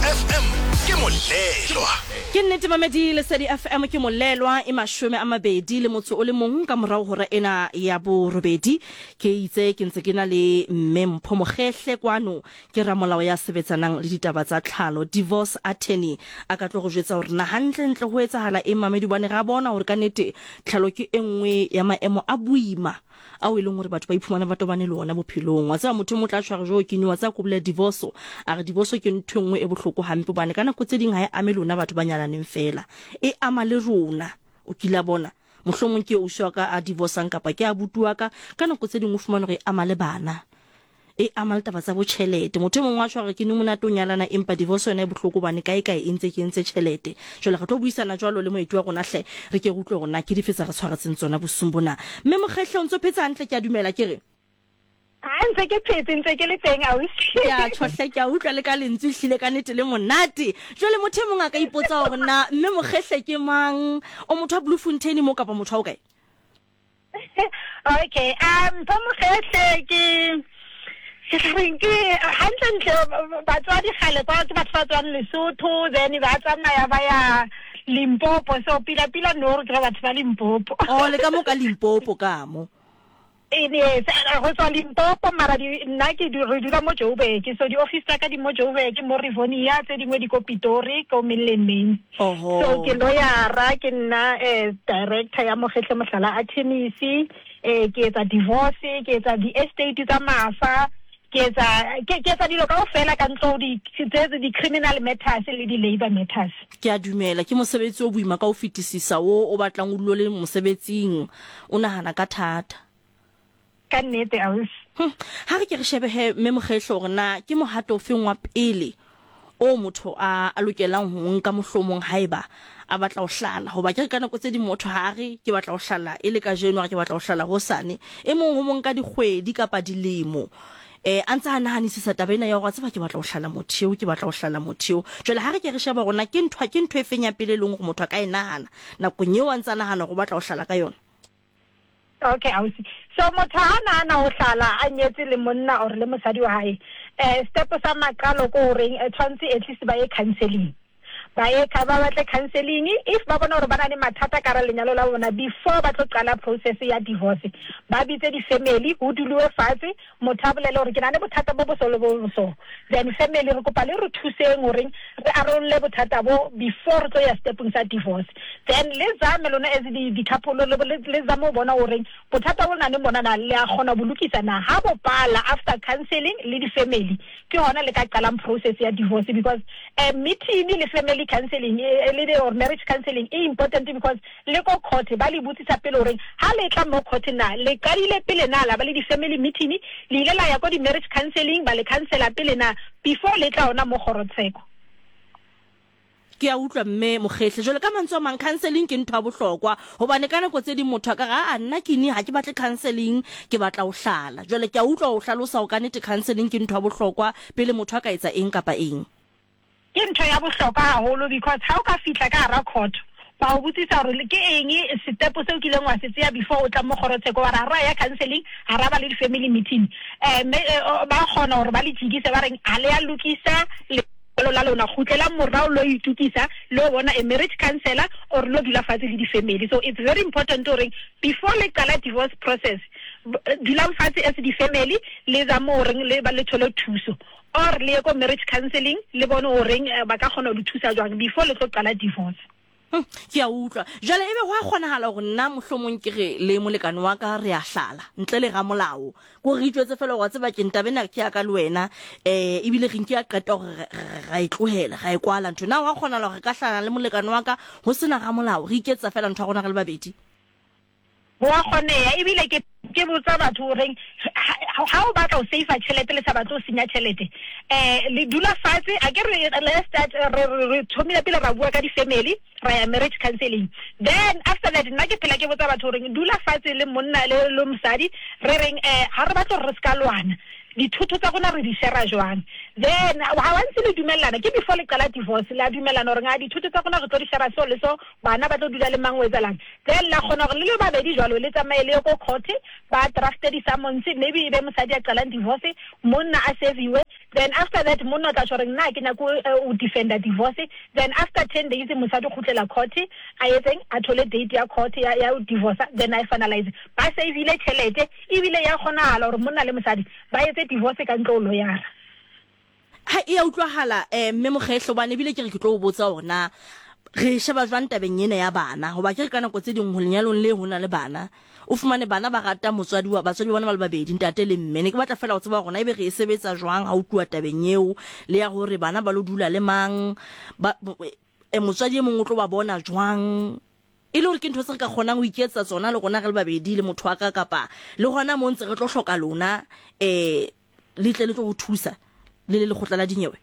FM ke molelwa. Ke nnete mamedi Lesedi FM ke molelwa e 21 ka morago hora ena ya borobedi. Ke itse ke ntse ke na le mme Mpho Mogehle kwano ke ramolao ya sebetsanang le ditaba tsa tlhalo, divorce attorney. A ka tlo go jwetsa hore na hantlentle ho etsahala eng mamedi hobane ra bona hore ka nnete tlhalo ke e nngwe ya maemo a boima ao e leng gore batho ba iphumana ba tobane le ona bophelong. Wa tseba motho e mong o tla tjho a re jo ke wa tseba ko bolela divorce, a re divorce ke ntho e nngwe e bohloko hampe hobane ka nako tse ding ha e ame lona batho ba nyalaneng fela, e ama le rona. O kila bona mohlomong ke ausi wa ka a divorcang kapa ke abuti wa ka, ka nako tse ding o fumana hore e ama le bana. E ama le taba tsa bo tjhelete. Motho e mong wa tjho a re ke ne monate o nyalana empa divorce yona e bohloko hobane kae kae e ntse kentse tjhelete. Jwale re tlo buisana jwalo le moeti wa rona hle re ke re utlwe hore na ke dife tsa re tshwaretseng tsona bosiung bona. Mme Mokgehle o ntso phetse hantle ke a dumela ke re. Ha ntse ke phetse ntse ke le teng ausi. Ke a tjho hle ke a utlwa le ka lentswe ehlile ka nete le monate. Jwale motho e mong a ka ipotsa hore na Mme Mokgehle ke mang? O motho wa Bloemfontein mo kapa motho wa ho kae? Okay, Mpho Mogehle ke ke tla reng ke hantlentle batswadi kgale kwa ke batho ba tswang Lesotho then ba tsamaya ba ya Limpopo so pila pila no re ke batho ba Limpopo. Oh le ka mo ka Limpopo ka mo. Yes, go tswa Limpopo mara nna ke re dula mo Joburg so di-office tsa ka di mo Joburg mo Rivonia tse dingwe di ko Pitori ko Mainland Main. Oho. So ke lawyera ke nna eh, director ya Mogetle Mohlala Attorneys eh ke etsa divorce ke etsa di-estate tsa mafa ke etsa ke ke etsa dilo kaofela ka ntlo di tse di-criminal matters le di-labor matters. Ke a dumela ke mosebetsi o boima ka ho fetisisa wo o batlang o dule o le mosebetsing o nahana ka thata. Ka nnete ausi. Hm, ha re ke re shebe he Mme Mokgehlo hore na ke mohato ofeng wa pele o motho a a lokelang ho o nka mohlomong haeba a batla ho hlala. Hoba ke re ka nako tse ding motho ha a re ke batla ho hlala e le kajeno, a re ke batla ho hlala hosane. E mong ho mo nka dikgwedi kapa dilemo eh a ntse a nahanisisa taba ena ya hore wa tseba ke batla ho hlala motho eo, ke batla ho hlala motho eo. Jwale ha re ke re sheba hore na ke ntho ke ntho e feng ya pele e leng hore motho a ka e nahana nakong eo a ntse a nahana hore o batla ho hlala ka yona. Okay ausi. So motho ha nahana ho hlala a nyetse le monna or le mosadi wa hae, eh step sa maqalo ko horeng eh, tshwantse at least ba ye counseling. Ba ye ba batle counseling if ba bona hore ba na le mathata ka hara lenyalo la bona before ba tlo qala process ya divorce. Ba bitse di-family ho duliwe fatshe motho a bolele hore ke na le bothata bo bo so le bo bo so. Then family re kopa le re thuseng horeng re arolle bothata bo before re tlo ya stepong sa divorce. Then le zame lona as di di couple le le zame ho bona horeng bothata bo nang le bona na le a kgona bo lokisa na. Ha bo pala after counseling le di family ke hona le ka qalang process ya divorce because eh, meeting le family counseling eh, le or marriage counseling e important because le ko court ba le botsisa pele horeng ha le tla mo court na le qadile pele na la ba le di family meeting le ile la ya ko di marriage counseling ba le counsela pele na before le tla ona mo kgorotsheko. Ke a utlwa mme Mokgehle. Jwale ka mantswe a mang counseling ke ntho ya bohlokwa hobane ka nako tse ding motho a ka re aa nna ke ni ha ke batle counseling ke batla ho hlala. Jwale ke a utlwa o hlalosa hore ka nnete counseling ke ntho ya bohlokwa pele motho a ka etsa eng kapa eng. Ke ntho ya bohlokwa haholo because ha o ka fihla ka hara court ba o botsisa hore ke eng setepo seo kileng wa se tseya before o tla mo kgorotsheko wa re ha ra ya counseling ha ra ba le di-family meeting um mme ba kgona hore ba le jikise ba reng ha le ya lokisa lenyalo la lona kgutlelang morao lo itukisa lo bona a marriage counselor or lo dula fatshe le di-family. So it's very important horeng before le qala divorce process dulang fatshe as di-family le zame horeng le ba le thole thuso or le ye ko marriage counseling le bone horeng ba ka kgona ho le thusa jwang before le tlo qala divorce. Hm, ke a utlwa. Jwale ebe go a kgonagala gore nna mohlomong ke re le molekane wa ka re a hlala ntle le ramolao, ko re itjwetse fela gore wa tseba keng taba ena ke ya ka le wena um ebile re nke ya qeta gore ra e tlohela ra e kwala ntho. Na go a kgonagala gore re ka hlala le molekane wa ka go se na ramolao, re iketsetsa fela ntho ya rona re le babedi? Go a kgoneya ebile ke ke botsa batho goreng ha o batla ho save tjhelete le sa batle ho senya tjhelete um le dula fatshe a ke re let's start re re thomile pele ra bua ka di-family ra ya marriage counseling then after that nna ke phela ke botsa batho goreng dula fatshe le monna le le mosadi re reng um ga re batle gore re se ka lwana dithoto tsa rona re di shera jwang. Then ha wa ntse le dumellana, ke before le qala divorce, la dumellana gore nga dithoto tsa rona re tlo di share so le so, bana ba tlo dula le mang, o etsalang. Then la kgona gore le le babedi jwalo le tsamaye le ye ko court, ba drafte di-summons, maybe e be mosadi a qalang divorce, monna a serviwe. Then after that monna o tla tjho gore nna ke nyako o defender divorce. Then after 10 days mosadi o kgutlela court, a etseng, a thole date ya court ya ya divorce, then a e finalize. Ba savile tjhelete ebile ya kgonahala gore monna le mosadi ba etse divorce ka ntle ho loyara. Ha e ya utlwahala eh mme Mokgehlo bane ebile ke re ke tlo o botsa hore na re e sheba jwang tabeng ena ya bana hoba ke re ka nako tse ding ho lenyalong le ho na le bana o fumane bana ba rata motswadi wa batswadi ba bona ba le babedi ntate le mme ne ke batla fela ho tseba hore na ebe re e sebetsa jwang ha o tluwa tabeng eo le ya hore bana ba lo dula le mang ba e motswadi e mong o tlo ba bona jwang e le hore ke ntho tse re ka kgonang ho iketsetsa tsona le rona re le babedi le motho wa ka kapa le hona mo ntse re tlo hloka lona eh le tle le tlo go thusa le le lekgotla la dinyewe?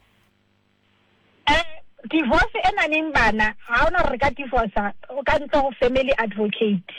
Eh, divorce e naneng bana ga ona gore re ka divorca ka ntle go family advocate.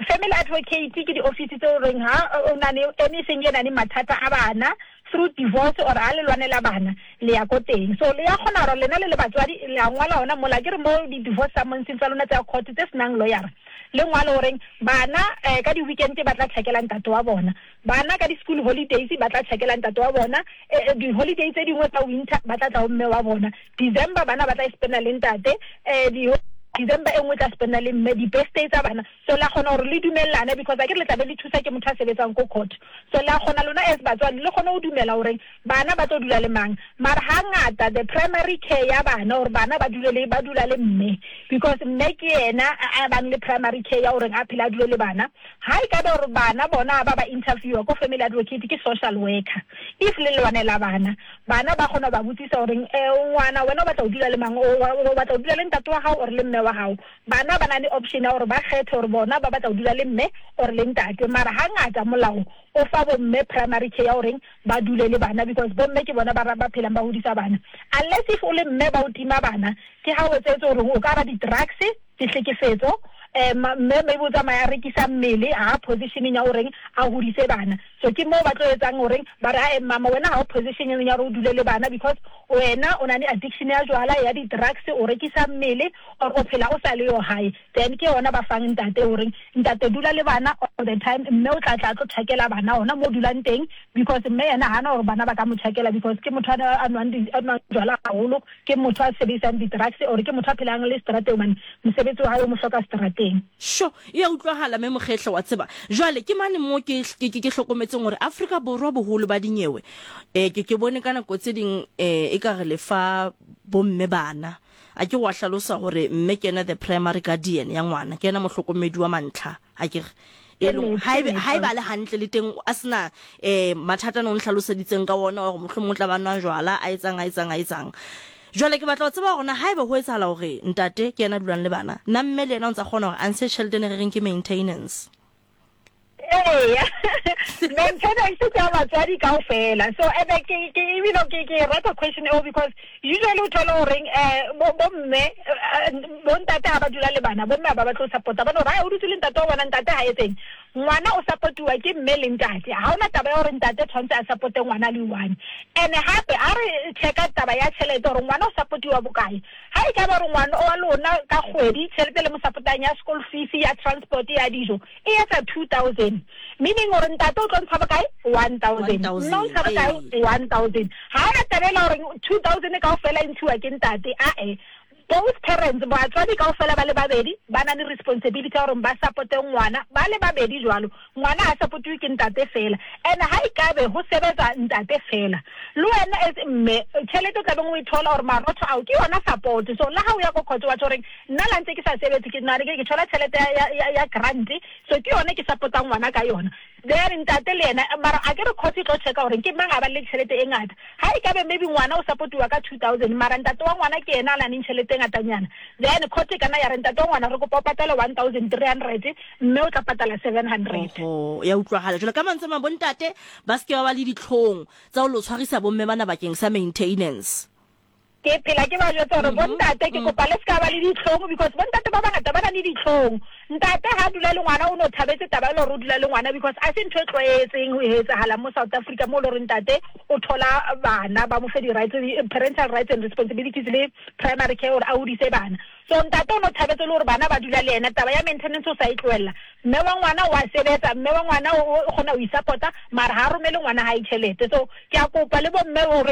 Family advocate ke di-office tse o reng ha o na le anything e nang mathata a bana through divorce or ha le lwanela bana le ya ko teng. So le ya kgona gore lena le le batswadi le a ngwala hona mola ke re mo di-divorce summonseng tsa lona tsa court tse senang lawyer le ngwale goreng bana um ka di-weekend ba tla tšhakela ntate wa bona. Bana ka di-school holidays ba tla tšhakela ntate wa bona, eh, di-holiday tse dingwe tsa winter ba tla tla go mme wa bona. December bana ba tla e spenda le ntate, eh, di December e nngwe tla spenda le mme, di-birthday tsa bana. So la kgona gore le dumellane because akere le tla be le thusa ke motho a sebetsang ko court. So la kgona lona as batswadi le kgone go dumela gore bana ba tlo dula le mang. Mara hangata the primary care ya bana gore bana ba dule le, ba dula le mme because mme ke yena a bang le primary care ya gore a phele a dule le bana. Ha e ka be gore bana bona ba ba interviewa ko family advocate ke social worker, if le lwanela bana, bana ba kgona ho ba botsisa gore eh, ngwana wena o batla ho dula le mang, o batla ho dula le ntate wa hao or le mme wa hao. Bana ba na le option ya gore ba kgethe gore bona ba batla ho dula le mme or le ntate. Mara hangata molao o fa bomme primary care ya goreng ba dule le bana because bomme ke bona ba ba phelang ba hodisa bana. Unless if o le mme ba o tima bana, ke ha o etsetse gore o ka ra di-drugs, ke hlekefetso, um mme maybe o tsamaya a rekisa mmele, ha positioneng ya goreng a hodise bana. So ke moo ba tlo etsang goreng ba re ae mama wena ha o positioneng ya gore o dule le bana because wena o na le addiction ya jwala, ya di-drugs, o rekisa mmele or o phela o sa le yo hae. Then ke yona ba fang ntate goreng ntate dula le bana all the time, mme o tla tla a tlo tjhakela bana hona mo dulang teng because mme yena hana gore bana ba ka mo tjhakela because ke motho a nwang jwala haholo, ke motho a sebedisang di-drugs or ke motho a phelang le seterateng hobane mosebetsi wa hae o mo hloka seterateng. Sho, e a utlwahala mme Mokgehlo, wa tseba. Jwale ke mane mo ke, ke, ke, ke hlokometseng hore Afrika Borwa boholo ba dinyewe, eh, ke, ke bone ka nako tse ding, eh, ekare le fa bomme bana. A ke wa hlalosa hore mme ke yena the primary guardian ya ngwana, ke yena mohlokomedi wa mantlha, a ke re. E leng haebe haeba le hantle le teng a sena eh mathata no nhlaloseditseng ka wona hore mohlomong o tla ba nwa jwala a etsang a etsang a etsang. Jwale ke batla ho tseba hore na haeba ho etsahala hore ntate ke yena dulang le bana, na mme le yena o ntsa kgona hore a ntshe tjhelete ne re reng ke maintenance. Eya, maintenance ke ya batswadi kaofela. So ebe ke ke ebile ke ke rata question eo because usually o thole horeng eh bo bo mme eh, bo ntate ha ba dula le bana, bo mme ha ba batle ho support-a ba no re o dutse le ntate wa bona, ntate ha etseng. Ngwana o supportiwa ke mme le ntate. Ha ona taba ya hore ntate tshwantse a supporte ngwana le one. And hape ha re checka taba ya tjhelete hore ngwana o supportiwa bokae. Ha e ka ba hore ngwana wa lona ka kgwedi tjhelete le mo support-ang ya school fees, ya transport, ya dijo e etsa 2000, meaning hore ntate o tlo ntsha bokae? 1000. Mme o ntsha bokae? 1000. Ha ona taba ela hore 2000 kaofela e ntshiwa ke ntate, ae. Both parents, batswadi kaofela ba le babedi ba na le responsibility ya hore ba supporte ngwana ba le babedi jwalo. Ngwana ha supportiwe ke ntate fela. And ha e kabe ho sebetsa ntate fela, le wena as mme tjhelete o tlabeng o e thola hore marotho ao ke yona support. So le ha o ya ko court wa tjho horeng nna la ntse ke sa sebetse ke na ke thola tjhelete ya grant, so ke yona ke support-ang ngwana ka yona. Then ntate le yena mara a ke re court e tlo checka hore ke mang a ba le tjhelete e ngata. Ha e kabe maybe ngwana o supportiwa ka 2000 mara ntate wa ngwana ke yena a nang tjhelete e ngatanyana, then court e kana ya re ntate wa ngwana re kopa o patale 1300 mme o tla patala 700. Oho, ya utlwahala. Jwale ka mantswe a mang bontate ba se ke ba ba le ditlhong tsa ho lo tshwarisa bomme bana bakeng sa maintenance. Ke phela ke ba jwetsa gore bontate ke kopa le seka ba le ditlhong, because bontate ba bangata ba na le ditlhong. Ntate ha dula le ngwana o no thabetse taba e le gore o dula le ngwana, because a se ntho e tlwaetseng ho etsahala mo South Africa mo e le gore ntate o thola bana ba mo fe di-rights, parental rights and responsibilities le primary care gore a hodise bana. So ntate o no thabetse le gore bana ba dula le yena, taba ya maintenance o sa e tlohella. Mme wa ngwana o a sebetsa, mme wa ngwana o kgona ho i-support-a, mara ha romele ngwana hae tjhelete. So ke a kopa le bomme horeng.